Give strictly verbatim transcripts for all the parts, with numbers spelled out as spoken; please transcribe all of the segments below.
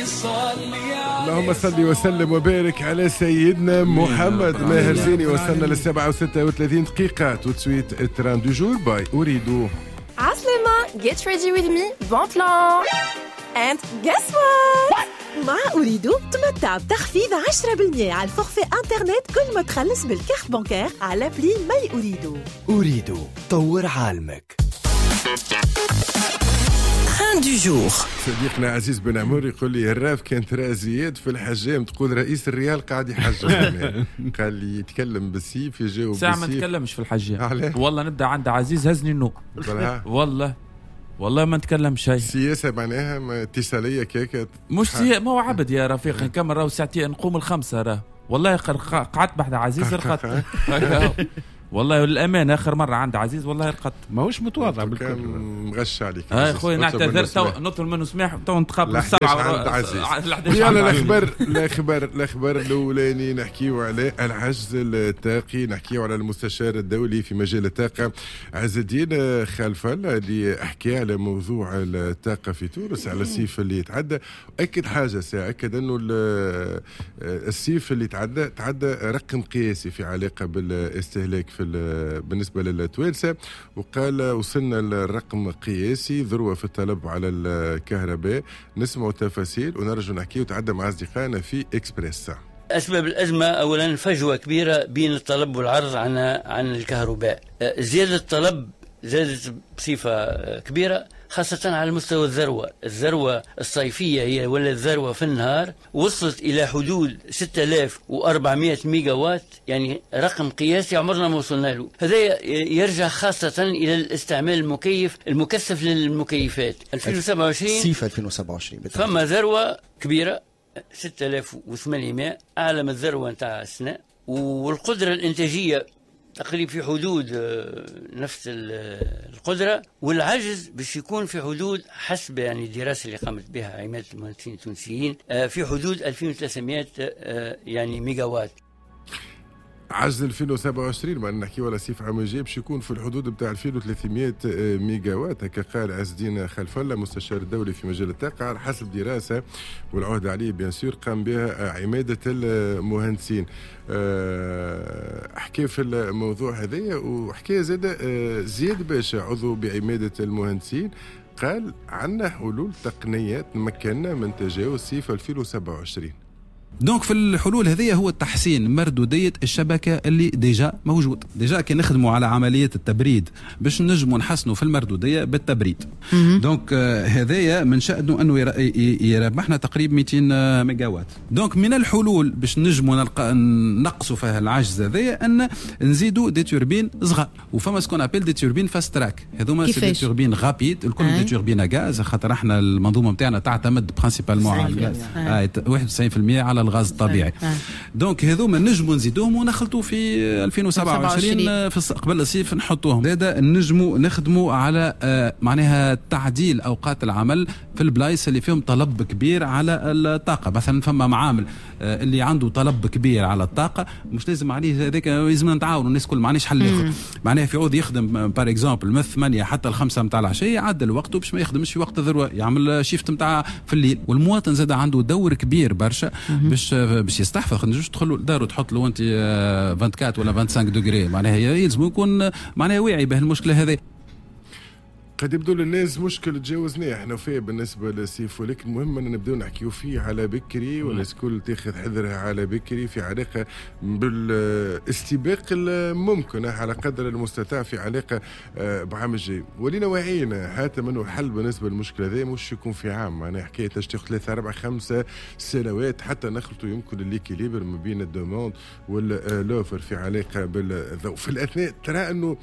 اللهم صل وسلم وبارك على سيدنا محمد. ماهر زيني، وصلنا للسبعة وستة وثلاثين دقيقة. tout de suite train du jour by Ooredoo. عسلامة، get ready with me، bon plan and guess what؟ مع Ooredoo تمتع بتخفيض عشرة بالمية على ال forfait internet كل ما تخلص بال carte bancaire على appli My Ooredoo. Ooredoo، طور عالمك. train du jour. صديقنا عزيز بن عمر يقول لي: الراف كان ترى زياد في الحجام تقول رئيس الريال قاعد يحجم. قال لي يتكلم بالسيف، يجاوب ساعة ما بالسيف. نتكلمش في الحجام. علاه؟ والله نبدا عند عزيز هزني النوم. بلها. والله والله ما نتكلم شيء. سياسة معناها ما اتصالية كيكة. مش سي... ما هو عبد يا رفيق، نكمل راهو ساعتين نقوم الخمسة راه. والله قر- قعدت بحذا عزيز رقدت، والله للأمان آخر مرة عند عزيز والله رقدت. ماهوش متواضع كان بالكل. مغش عليك. هاي عزيز. خويا اطلب نعتذر منه تو سماح. نطلب منه سماح، تو نتقابل لا السبعة. عند عزيز. الحداش يلا عند عزيز. الاخبار الاخبار الاخبار الاولاني نحكيو على العجز الطاقي، نحكيو على المستشار الدولي في مجال الطاقة عز الدين خلف الله اللي حكى على موضوع الطاقة في تونس على الصيف اللي يتعدى. اكد حاجة ساعة، اكد انه ال- الصيف اللي تعدى تعدى رقم قياسي في علاقة بالاستهلاك في ال- بالنسبة للتوانسه، وقال وصلنا للرقم قياسي ذروة في الطلب على الكهرباء. نسمع تفاصيل ونرجع نحكي وتعدى مع اصدقائنا في اكسبريس. أسباب الأزمة: أولا فجوة كبيرة بين الطلب والعرض عن عن الكهرباء. أه، زيادة الطلب زادت بصفة أه، كبيرة، خاصة على مستوى الذروة الذروة الصيفية هي ولا الذروة في النهار وصلت إلى حدود ستة آلاف وأربعمئة ميجا وات، يعني رقم قياسي عمرنا ما وصلنا له. هذا يرجع خاصة إلى الاستعمال المكيف المكثف للمكيفات. ألفين وسبعة وعشرين صيف ألفين وسبعة وعشرين بالتحديد. فما ذروة كبيرة ستة آلاف وثمانمئة، أعلى من الذروة نتاع السنة، والقدرة الإنتاجية تقريبا في حدود آه، نفس ال- القدرة، والعجز باش يكون في حدود حسب يعني الدراسة اللي قامت بها عمادة المهندسين التونسيين آه، في حدود ألفين وثلاثمئة آه، يعني ميجا وات. عجز ألفين وسبعة وعشرين، ما نحكي ولا صيف عام الجاي، باش يكون في الحدود بتاع ألفين وثلاثمئة ميجا وات، هكا قال عز الدين خلف الله مستشار الدولي في مجال الطاقه، على حسب دراسة والعهد عليه bien sûr قام بها عماده المهندسين. أه، حكى في الموضوع هذايا وحكى زاد أه، زياد باشا عضو بعماده المهندسين، قال عندنا حلول تقنية تمكننا من تجاوز صيف ألفين وسبعة وعشرين. donc في الحلول هذه هو تحسين مردوديه الشبكة اللي déjà موجود. déjà كي نخدموا على عملية التبريد باش نجموا نحسنوا في المردوديه بالتبريد. donc آه، هذايا من شأنه انه يربحنا تقريبا مئتين ميجا وات. donc من الحلول باش نجموا نلقى نقصوا فيها العجز هذايا ان نزيدوا des turbines صغار، وفما ce qu'on appelle des turbines fast track. هذوما c'est des turbines rapides الكل، des turbines à gaz، خاطر احنا المنظومة نتاعنا تعتمد principalement على الغاز، واحد وتسعين في المية على الغاز الطبيعي. donc هذوما نجموا نزيدوهم ونخلطوا في ألفين وسبعة وعشرين في قبل الصيف نحطوهم. زاد نجموا نخدموا على آه، معناها تعديل اوقات العمل في البلايص اللي فيهم طلب كبير على الطاقه. مثلا فما معامل آه، اللي عنده طلب كبير على الطاقه، مش لازم عليه هذاك، لازم نتعاونوا الناس كل، ما عندناش حل اخر. معناها في عوض يخدم par exemple من ثمانية حتى الخمسة نتاع العشيه، يعدل وقته باش ما يخدمش في وقت الذروه، يعمل shift نتاع في الليل. والمواطن زاد عنده دور كبير برشا باش باش يستحفظ. ما تنجمش تدخل لدار وتحط له انت أربعة وعشرين ولا خمسة وعشرين degrés، معناها يلزم يكون معناها واعي بهالمشكله هذه. قد يبدو للناس مشكل تجاوزناه احنا فيه بالنسبة للصيف، ولكن المهم ان نبداو نحكيو فيه على بكري والناس الكل تاخذ حذرها على بكري في علاقة بالاستباق الممكن على قدر المستطاع في علاقة آه، بعام الجاي. ولينا واعيين حاتم انه الحل بالنسبة للمشكلة هذه مش يكون في عام، معناها حكاية تاخذ ثلاثة أربع خمسة سنوات حتى نخلطوا يمكن l'équilibre ما بين ال demande وال l'offre في علاقة بالضوء. في الاثناء ترى انه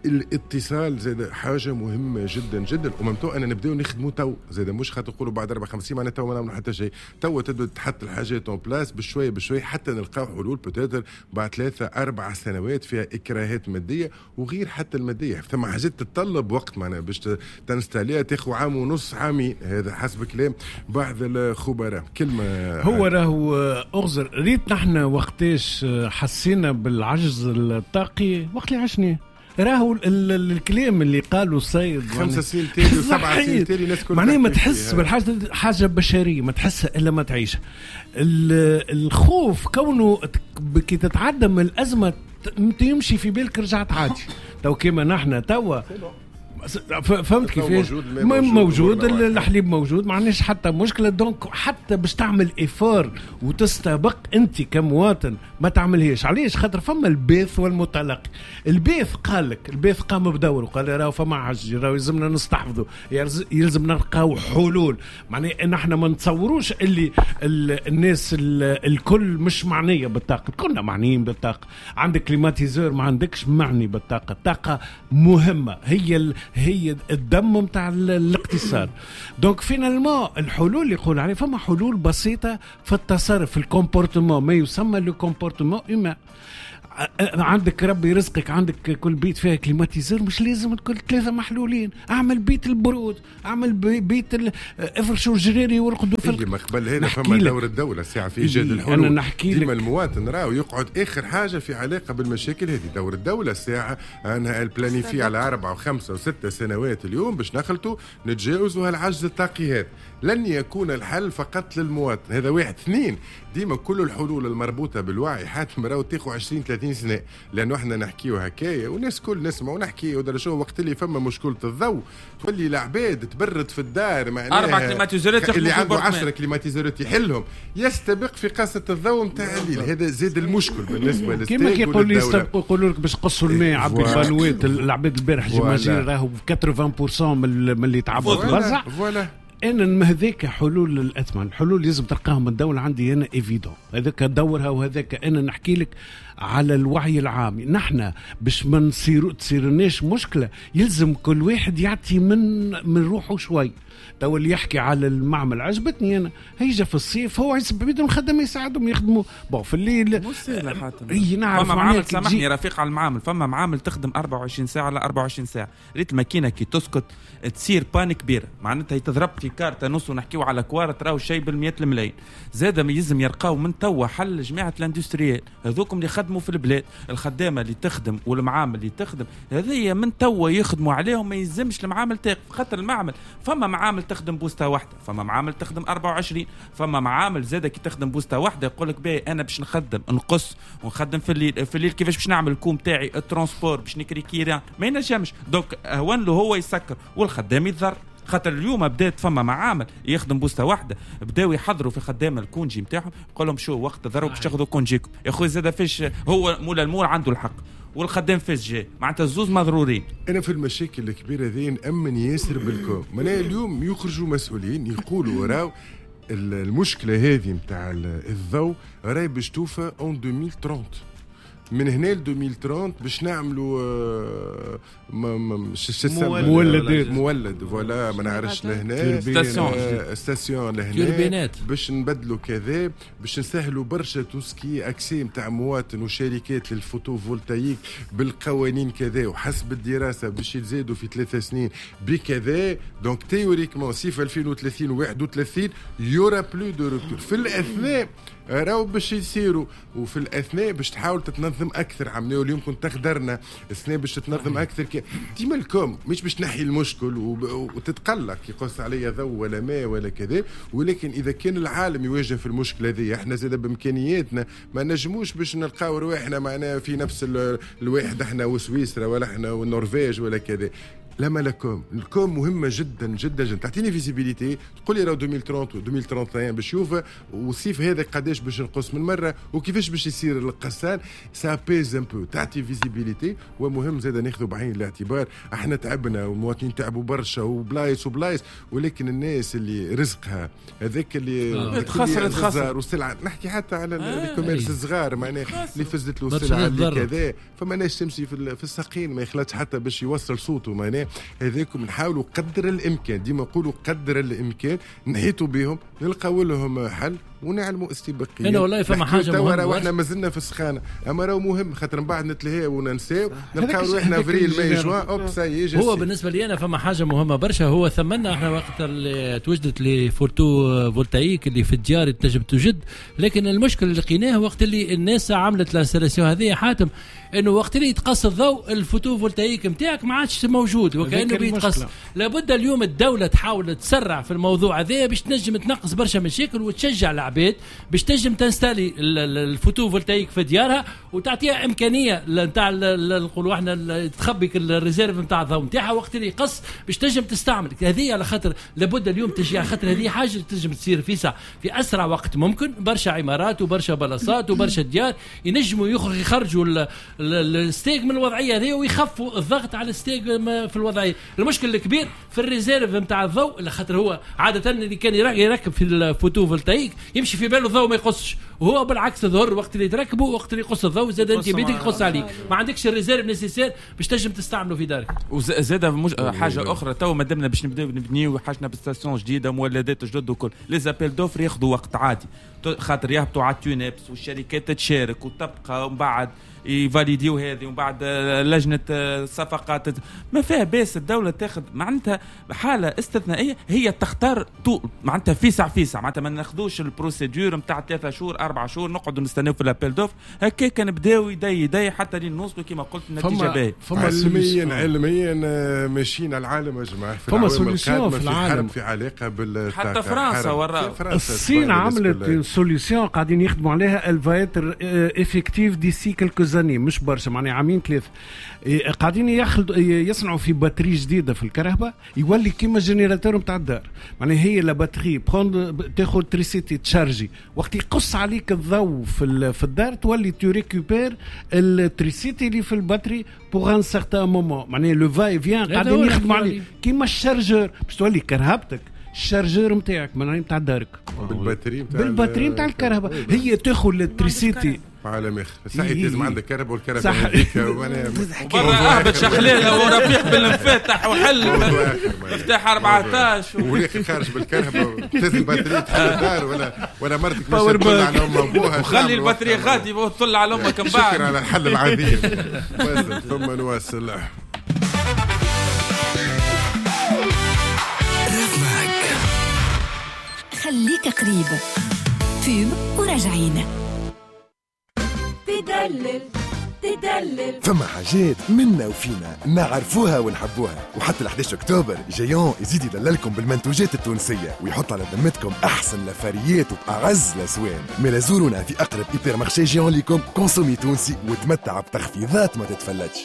الاتصال زاد حاجة مهمة جدا جدا، و même temps انا نبداو نخدموا تو زاد، مش خاطر نقولوا بعد اربع خمس سنين معناتها تو ما نعملوا حتى شيء. تو تبدا تحط الحاجات en place بشوية بشوية حتى نلقاو حلول peut-être بعد ثلاثة اربع سنوات فيها اكراهات مادية وغير حتى الماديه. ثم حاجات تتطلب وقت، معناها باش تنستاليها تاخذ عام ونص، عامين، هذا حسب كلام بعض الخبراء. كلمه. هو راهو اغزر ريت نحن وقتاش حسينا بالعجز الطاقي؟ وقت اللي عشنا راهو الكلام اللي قالوا السيد خمسة سنين تالي وسبعة سنين تالي الناس كلها معناها ما تحس بالحاجة، حاجة بشرية ما تحسها الا ما تعيشها. الخوف كونه كي تتعدى من الازمة يمشي في بالك رجعت عادي. تو كيما نحن توا فهمت كيفاش موجود, موجود الحليب موجود، ما عندناش حتى مشكلة. donc حتى باش تعمل effort وتستبق انت كمواطن ما تعملهاش. علاش؟ خاطر فما الباث والمتلقي. الباث قال لك، الباث قام بدوره، قال راهو فما عجز، راهو يلزمنا نستحفظوا، يلزم نلقاو حلول. معناها نحن ما نتصوروش اللي الناس الكل مش معنية بالطاقة، كلنا معنيين بالطاقة. عندك climatiseur ما عندكش معني بالطاقة. الطاقة مهمة، هي ال هي الدم متاع الاقتصاد. donc finalement الحلول اللي يقول عليه فما حلول بسيطة في التصرف، في ال comportement، ما يسمى le comportement humain. عندك ربي رزقك، عندك كل بيت فيها climatiseur، مش لازم كل ثلاثة محلولين. اعمل بيت البرود، اعمل بيت ال... افرشوا الجريري ورقدوا في ما قبل هذا فما دور الدولة ساعة في ايجاد الحلول. انا نحكي لك ديما المواطن راهو يقعد اخر حاجة في علاقة بالمشاكل هذه. دور الدولة ساعة انها ال planifier على اربعة وخمسة وستة سنوات اليوم باش نخلطوا نتجاوزوا هالعجز الطاقي هذا. لن يكون الحل فقط للمواطن، هذا واحد. اثنين، ديما كل الحلول المربوطه بالوعي حاتم راهو تاخذ عشرين ثلاثين سنة، لانه احنا نحكيو هكايا والناس كل نسمع ونحكي ودرا وقت اللي فما مشكلة الضوء تولي العباد تبرد في الدار، معناها اربع climatiseur ات اللي عنده عشرة climatiseur ات يحلهم، يستبق في قصة الضوء نتاع الليل. هذا زاد المشكل بالنسبة للستاج. كيما كيقول لي يستبقوا يقولوا لك باش قصوا الماء عبي البانوات. العباد البارح j'imagine راهو ثمانين بالمية من اللي تعبوا برزع. voilà انا هذاك حلول الاثمان، الحلول لازم تلقاهم من الدولة عندي انا évident، هذاك دورها وهذاك انا نحكي لك على الوعي العام. نحن باش ما نصيروا تصيرناش مشكلة يلزم كل واحد يعطي من من روحه شوي. تو اللي يحكي على المعمل عجبتني انا، هيجا في الصيف هو بيدهم الخدمة يساعدهم يخدموا bon في الليل. اي نعرف فما معامل، سامحني رفيق على المعامل، فما معامل تخدم أربعة وعشرين ساعة على أربعة وعشرين ساعة. ريت الماكينة كي تسكت تصير panne كبيرة، معناتها يتضرب في كارته نص ونحكيو على كوارت راهو شيء بالمئات الملايين. زاد ما يلزم يلقاو من توا حل جماعة ال industriel هذوكم اللي خدموا في البلاد، الخدامة اللي تخدم والمعامل اللي تخدم هذه من توا يخدموا عليهم. ما يلزمش المعامل تاقف، خاطر المعمل فما معامل تخدم بوسته واحدة، فما معامل تخدم أربعة وعشرين، فما معامل زاده كي تخدم بوسته واحدة يقول لك باهي انا باش نخدم نقص ونخدم في الليل، في الليل كيفاش باش نعمل ال coût تاعي ال transport باش نكري كيران ما ينجمش. donc هون له هو يسكر والخدام يتضر. خاطر اليوم بدات فما معامل يخدم بوسته واحدة، بداو يحضروا في خدام ال congé نتاعهم، يقول لهم شو وقت ضرب باش تاخذوا congé كم يا خويا. زاد فيش هو مولا المول عنده الحق والخدام فاش جاي، معناتها الزوز مضرورين. انا في المشاكل الكبيرة ذي نامن ياسر بالكم. معناها اليوم يخرجوا مسؤولين يقولوا راو المشكلة هذه نتاع الضوء راهي باش توفى en ألفين وثلاثين، من هنا ل ألفين وثلاثين باش نعملوا مولد مولد voilà ما نعرفش لهنا station station لهنا باش نبدلوا كذا، باش نسهلوا برشا tout ce qui est accès نتاع مواطن وشركات لل photovoltaïque بالقوانين كذا، وحسب الدراسة باش يتزادوا في ثلاث سنين بكذا. donc théoriquement سي في ألفين وثلاثين وواحد وثلاثين il y aura plus de rupture. في الاثناء راهو باش يصيروا، وفي الاثناء باش تحاول تتنظم اكثر. عملنا اليوم كنت تخدرنا السنة باش تتنظم اكثر. كي ديما ال com مش باش تنحي المشكل وتتقلق يقص عليا ضوء ولا ماء ولا كذا، ولكن اذا كان العالم يواجه في المشكلة هذه احنا زاد بامكانياتنا ما نجموش باش نلقاو رواحنا معنا في نفس الواحد احنا وسويسرا ولا احنا والنرويج ولا كذا. لما la com ال com مهمة جدا جدا جدا، تعطيني visibilité تقول لي راه ألفين وثلاثين و ألفين وواحد وثلاثين باش يوفى والصيف هذا قداش باش نقص من مرة وكيفاش باش يصير القصان. ça apaise un peu، تعطي visibilité. ومهم زاد ناخذ بعين الاعتبار احنا تعبنا والمواطنين تعبوا برشا وبلايص وبلايص، ولكن الناس اللي رزقها هذاك اللي خسرت خسر والسلعه، نحكي حتى على ال commerce الصغار معناها اللي فزت له السلعة اللي كذا، فما ناس تمشي في الساقين ما يخلطش حتى باش يوصل صوته. معناها هذاكم نحاولوا قدر الامكان، ديما نقولوا قدر الامكان نحيطوا بهم نلقاو لهم حل ونعلموا استباقيا. انا والله فما حاجة مهمة، واحنا مازلنا في السخانه، اما راهو مهم خاطر من بعد نتلهاو وننساو نلقاو روحنا افريل ماي جوان hop ça y est. هو بالنسبة لي انا فما حاجة مهمة برشا، هو ثمنا احنا وقت اللي توجدت les photovoltaïques اللي في الديار تنجم توجد، لكن المشكل اللي لقيناه وقت اللي الناس عملت l'installation هذه حاتم، انه وقت اللي يتقص الضوء ال photovoltaïque نتاعك ما عادش موجود وكانه بيتقص. لابد اليوم الدولة تحاول تسرع في الموضوع هذا باش تنجم تنقص برشا مشاكل وتشجع العباد باش تنجم تنستالي ال photovoltaïque في ديارها وتعطيها امكانية نتاع نقولوا احنا تخبي ال réserve نتاع الضوء نتاعها وقت اللي يقص باش تنجم تستعمل هذه. على خاطر لابد اليوم تشجيع، خاطر هذه حاجة تنجم تصير في ساعة في اسرع وقت ممكن. برشا عمارات وبرشا بلاصات وبرشا ديار ينجموا يخرجوا الستاغ من الوضعية هذه ويخفوا الضغط على الستاغ في الوضعية. المشكل الكبير في ال réserve نتاع الضوء، خاطر هو عادة اللي كان يركب في ال photovoltaïque يمشي في باله الضوء ما يقصش، وهو بالعكس ظهر وقت اللي تركبه وقت اللي يقص الضوء زاد انت بيدك يقص عليك، ما عندكش ال réserve nécessaire باش تنجم تستعمله في دارك. وزاد مج... حاجة اخرى تو مادامنا باش نبداو نبنيو حاجنا ب stations جديدة مولدات جدد وكل les appels d'offres ياخذوا وقت عادي، خاطر يهبطوا على TUNEPS والشركات تشارك وتبقى ومن بعد يفاليديو هذه ومن بعد لجنة الصفقات ما فيها باس. الدولة تاخذ معناتها حاله استثنائية، هي تختار تو معناتها فيسع فيسع، معناتها ما ناخذوش ال procédure نتاع ثلاثة شهور أربعة شهور نقعدوا نستناو في l'appel d'offres هكاك نبداو يدي يدي حتى لين نوصلوا كما قلت النتيجة باهيه. علميا علميا ماشيين على العالم يا جماعة، فما solution في العالم في علاقة بال حتى فرنسا ورا الصين عملت solution قاعدين يخدموا عليها، elle va être effective d'ici quelques années، مش برشا معناها عامين ثلاثة، قاعدين يصنعوا في batterie جديدة في الكهرباء يولي كيما générateur نتاع الدار، معناها هي la batterie prend تاخذ تريسيتي تشارجي، وقت يقص عليك الضوء في في الدار تولي tu récupères التريسيتي اللي في ال batterie pour un certain moment، معناها le va-et-vient قاعدين يخدموا عليه كيما ال chargeur باش تولي كرهبتك ال chargeur نتاعك معناها نتاع دارك بال batterie نتاع بال batterie نتاع الكهرباء، هي تاخذ التريسيتي عالم اخر. صحيح لازم عندك كهرباء والكهرباء هذيك برا اهبط شخليله ورفيق بالمفاتح وحل مفتاح أربعتاش والاخر خارج بالكهرباء تنزل batterie تحل الدار ولا ولا مرتك مش تطلع على امها وابوها وخلي ال batterie غادي وتطلع على امك من بعد. شكرا على الحل العظيم. ثم نواصل. خليك قريب pub وراجعين. تدلل تدلل فما حاجات منا وفينا نعرفوها ونحبوها، وحتى ال أحد عشر أكتوبر Géant يزيد يدللكم بالمنتوجات التونسية ويحط على ذمتكم أحسن لفاريات وبأعز الأسوان. ملا زورونا في أقرب hypermarché Géant ليكم، consommez تونسي وتمتع بتخفيضات ما تتفلتش.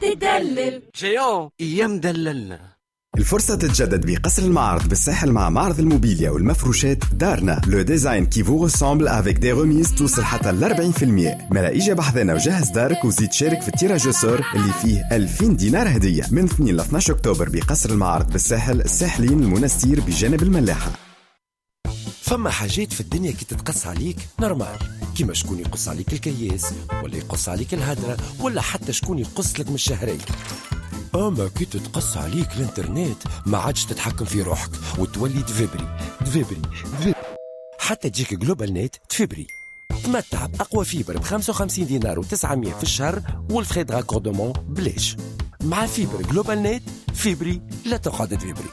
تدلل Géant يمدللنا. الفرصة تتجدد بقصر المعارض بالساحل مع معرض الموبيليا والمفروشات دارنا، le design qui vous ressemble avec des remises توصل حتى ل أربعين بالمية. ملا إجا بحذنا وجهز دارك وزيد شارك في ال tirage au sort اللي فيه ألفين دينار هدية من اثنين ل اثناش أكتوبر بقصر المعارض بالساحل، الساحلين المنستير بجانب الملاحة. فما حاجات في الدنيا كي تتقص عليك normal، كيما شكون يقص عليك الكياس ولا يقص عليك الهدرة ولا حتى شكون يقص لك من الشهرية. اما كي تتقص عليك الانترنت ما عادش تتحكم في روحك وتولي تفبري تفبري تفبري حتى تجيك GlobalNet تفبري. تمتع باقوى fibre ب خمسة وخمسين دينار وتسعمية في الشهر وال frais de raccordement بلاش. مع fibre GlobalNet فيبري لا تقعد تفبري.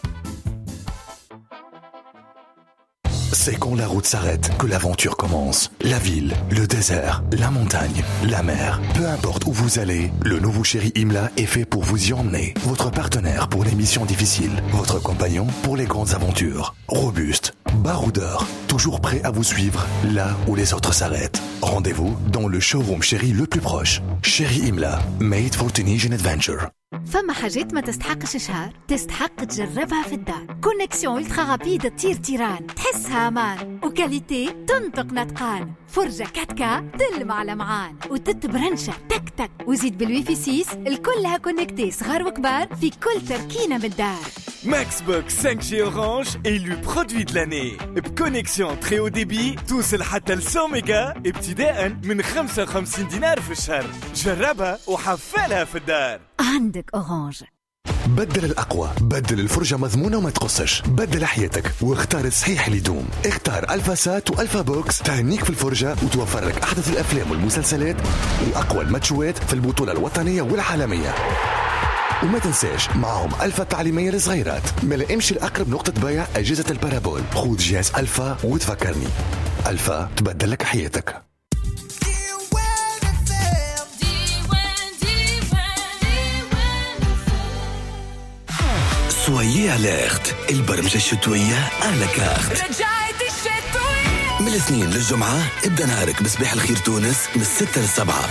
C'est quand la route s'arrête que l'aventure commence. La ville, le désert, la montagne, la mer. Peu importe où vous allez, le nouveau Chery Imla est fait pour vous y emmener. Votre partenaire pour les missions difficiles, votre compagnon pour les grandes aventures. Robuste, baroudeur, toujours prêt à vous suivre là où les autres s'arrêtent. Rendez-vous dans le showroom Chery le plus proche. Chery Imla, made for Tunisian adventure. فما حاجات ما تستحقش شهر، تستحق تجربها في الدار. connexion ultra rapide تطير تيران، تحسها امان، و qualité تنطق نطقان، فرجة quatre K تلمع لمعان، وتتبرنشة تك تك، وزيد بالويفي ستة الكلها connectée صغار وكبار في كل تركينة من الدار. Maxbox cinq G Orange élu produit de l'année ب connexion très haut débit توصل حتى ل مية ميجا ابتداء من خمسة وخمسين دينار في الشهر. جربها وحفلها في الدار. عندك Orange. بدل الأقوى، بدل الفرجة مضمونة وما تقصش، بدل حياتك واختار الصحيح اللي يدوم. اختار ألفا سات وألفا بوكس، تهنيك في الفرجة وتوفر لك أحدث الأفلام والمسلسلات وأقوى الماتشوات في البطولة الوطنية والعالمية. وما تنساش معهم ألفا التعليمية للصغيرات. ملا امشي لأقرب نقطة بيع أجهزة ال parabole، خذ جهاز ألفا وتفكرني. ألفا تبدل لك حياتك. soyez alerte، البرمجة الشتوية à la carte. رجعت الشتوية من الاثنين للجمعة. ابدأ نهارك بصباح الخير تونس من الستة للسبعة.